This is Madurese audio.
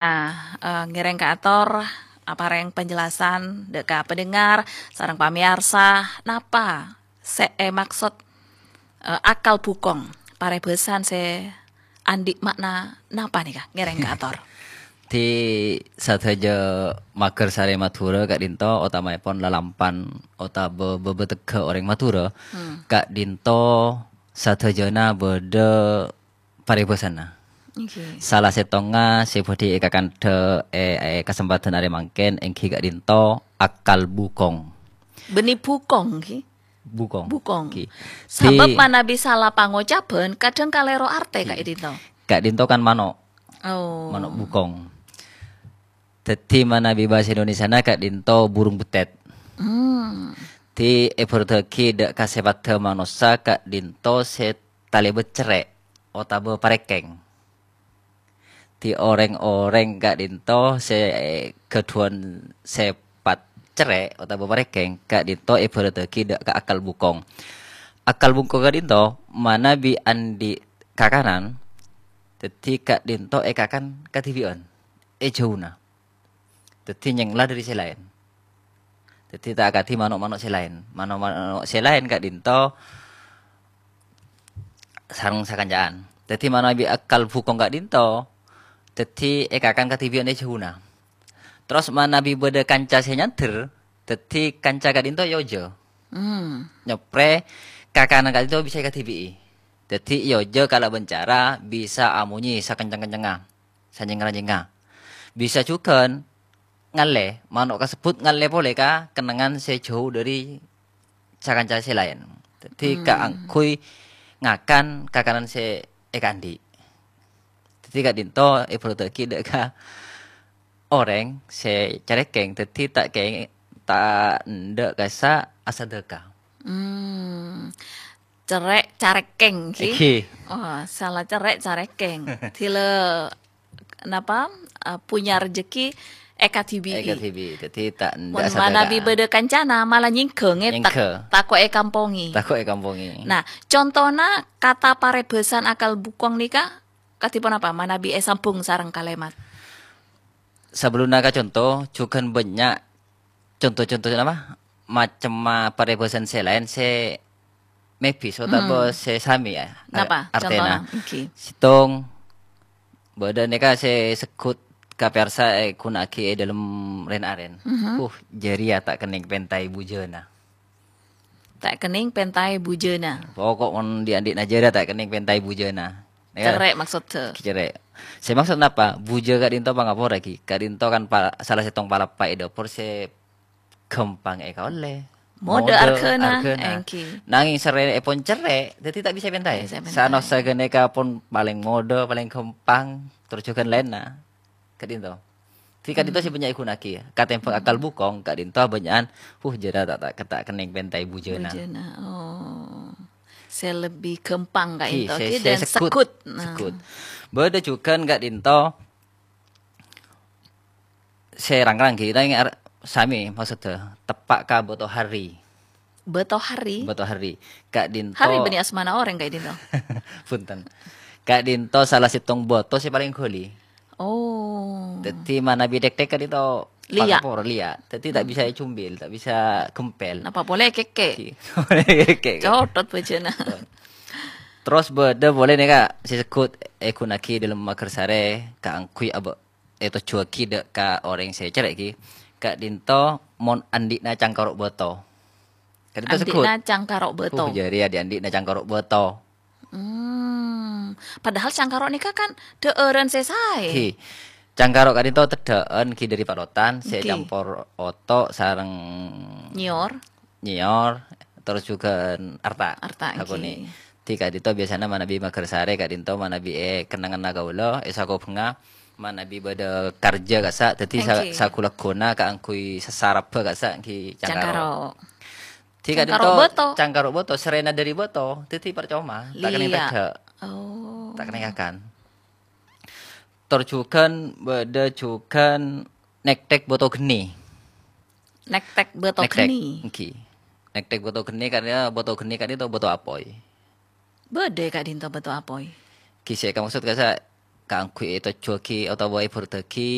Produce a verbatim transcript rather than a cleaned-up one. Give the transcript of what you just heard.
Nah, eh, ngèrèng kaator aparèng penjelasan dâ' ka pendengar sareng pamèyarsa, napa sè èmaksod, eh, akal bukong? Parèbhâsan sè andi' ma'na napa nèka? Ngèrèng kaator. Di sadhâjâ maghârsarè Madhurâ ka'dinto, otamaèpon lalampan otabâ bâbâtegghâ orèng Madhurâ, Hmm. ka'dinto sadhâjâna bâdâ parèbhâsana. Oke. Sala sèttongnga sè bhâdhi èkakandhâ è, è kasempadhân arè mangkèn èngghi ka'dinto akal bukong. Bânnè bukong, ghi? Bukong. Bukong. Ghi. Sabâb Di- manabi sala pangocabhân, kadhâng kalèro artè Ghi. ka'dinto. Ka'dinto kan mano'. Oh. Mano' bukong. Dhâddhi manabi bhâsa Indonesiana ka'dinto burung betet. Hmm. Di èbhârudhâghi dâ' ka sèpaddhâ manossa ka'dinto sè talèbât cerrè' otabâ parèkèng. Di orèng-orèng ka'dinto sè ghâdhuwân sèpat cerrè' otabâ parèkèng ka'dinto èbhârudhâghi dâ' ka akal bukong. Akal bukong ka'dinto manabi andi' kakanan, dhâddhi ka'dinto èkakan kadhibi'ân, è jhâuna. Dhâddhi nyèngla dâri sè laèn. Dhâddhi ta' akadhi mano'-mano' sè laèn. Mano'-mano' sè laèn ka'dinto sareng sakanca'an. Dhâddhi manabi akal bukong ka'dinto, dhâddhi èkakan kadhibi'ân è jhâuna. Terros manabi bâdâ kanca sè nyandher, dhâddhi kanca ka'dinto èojâ. Hmm. Nyoprè kakanan ka'dinto bisa èkadhibi'i. Dhâddhi èojâ kalabân cara bisa amonyè sakencèng-kencèngnga. Sanyèng-ranyèngnga. Bisa jhughân ngallè, mano' kasebbhut ngallè polè ka kennengngan sè jhâu dâri sakanca sè laèn. Dhâddhi Hmm. kaangghuy ngakan kakanan sè èkaandi'. Dhâddhi ka'dinto èbhârudhâghi dâ' ka orèng sè carèkèng, dhâddhi ta' kè-, ta' endâ' kassa' asadâka. Hmm. Cerrè' carèkèng, ghi? Ghi. Oh, sala cerrè' carèkèng. Dhilâ, napa, eh, punya rejeki èkadhibi'i. Èkadhibi'i. Dhâddhi ta' endâ' Mon asadâka. Manabi bâdâ kancana, malah nyèngghâ, ngètèk. Nyèngghâ. Tako' èkampongè. Tako' èkampongè. Nah, contona kata parèbhâsan akal bukong nèka kadhi ponapa manabi èsambhung sareng kalèmat? Sabellunna ka conto, jhughân bânnya' conto-conto napa? Macemma parèbhâsan sè laèn sè mebis otabâ Hmm. sè samè, ya, Napa? artèna. Contona, èngghi. Sèttong, bâdâ nèka sè segghut ka pèyarsa èghuna'aghi è dâlem rèn-arèn. Mhm. Uh, jârèya ta' kennèng pèntaè bujâna. Ta' kennèng pèntaè bujâna. Pokok mon dhi'-andhi'na jârèya ta' kennèng pèntaè bujâna. Ya. Cerrè' maksoddhâ. Cerrè'. Sè maksod napa? Bujâ ka'dinto pangapora, ghi. Ka'dinto kan pa-, sala sèttong palappa è dâpor sè ghâmpang èkaollè. Modâ Modâ arghâna, arghâna. Èngghi. Nangèng sarèna èpon cerrè', dhâddhi ta' bisa pèntaè. Ta' bisa pèntaè. Sanaossa ghânèka pon palèng modâ, palèng ghâmpang, terros jhughân laènna. Ka'dinto. Dhâddhi ka'dinto Hmm. sè bânnya' èghuna'aghi. Katèmbhâng akal Hmm. bukong, ka'dinto bânnya'an, "Uh, jârèya ta', ta', ta' kennèng pèntaè bujâna." Bujâna, oh. Sè lebbi ghâmpang Ghi, ka'dinto, sè, ghi, sè dan segghut. Segghut. Nah. Segghut. Bâdâ jhughân ka'dinto sè rang-rang, ghi, nangèng ar-, samè maksoddhâ, teppa' ka bâto hari. Bâto hari? Bâto hari. Ka'dinto Hari bânnè asmana orèng ka'dinto. Bhunten. Ka'dinto sala sèttong bâto sè palèng ghâli. Oh. Dhâddhi manabi tèk-tèk ka'dinto Liya'. pangapora liya'. Dhâddhi ta' Hmm. bisa ècombil, ta' bisa ghempèl. Napa polè kèkkè'? Ghi. Polè kèkkè'. Cothot bâjâna. Terros bâdâ polè nèka sè segghut èghuna'aghi dâlem maghârsarè kaangghuy abâ-, ètojjhuwâghi dâ' ka orèng sè cerrè', ghi. Ka'dinto mon andi'na cangkaro' bâto. Ka'dinto segghut. Andi'na cangkaro' bâto. Uh, jârèya dhi'-, andi'na cangkaro' bâto. Hmm. Padahal cangkaro' nèka kan dhâ'ârân sè saè. Ghi. Cangkaro' ka'dinto teddhâ'ân ghi dâri palotan sè Ghi. campor oto' sareng Nyèyor. nyèyor, terros jhughân arta'. Arta', Sakonè'. Ghi. Dhâddhi ka'dinto biasana manabi maghârsarè ka'dinto manabi è kennengnganna kaulâ, è sakobhângnga manabi bâdâ karjâ kassa', dhâddhi sa-, Èngghi. sagu-laguna kaangghuy sasarabbhâ kassa' ghi cangkaro'. Cangkaro'. Dhâddhi Cangkaro' ka'dinto bâto. cangkaro' bâto, sarèna dâri bâto, dhâddhi parcoma, ta' kennèng Liya'. teddhâ'. Oh. Ta' kennèng ngakan. Tor jhughân bâdâ jhughân nèk-tèk bâto ghenni. Nèk-tèk bâto Nèk-tèk, ghenni. èngghi. Nèk-tèk bâto ghenni karna bâto ghenni ka'dinto bâto apoy. Bâdâ ka'dinto bâto apoy. Ghi sè èkamaksod kassa' kaangghuy ètojjhuwâghi otabâ èbhurdhâghi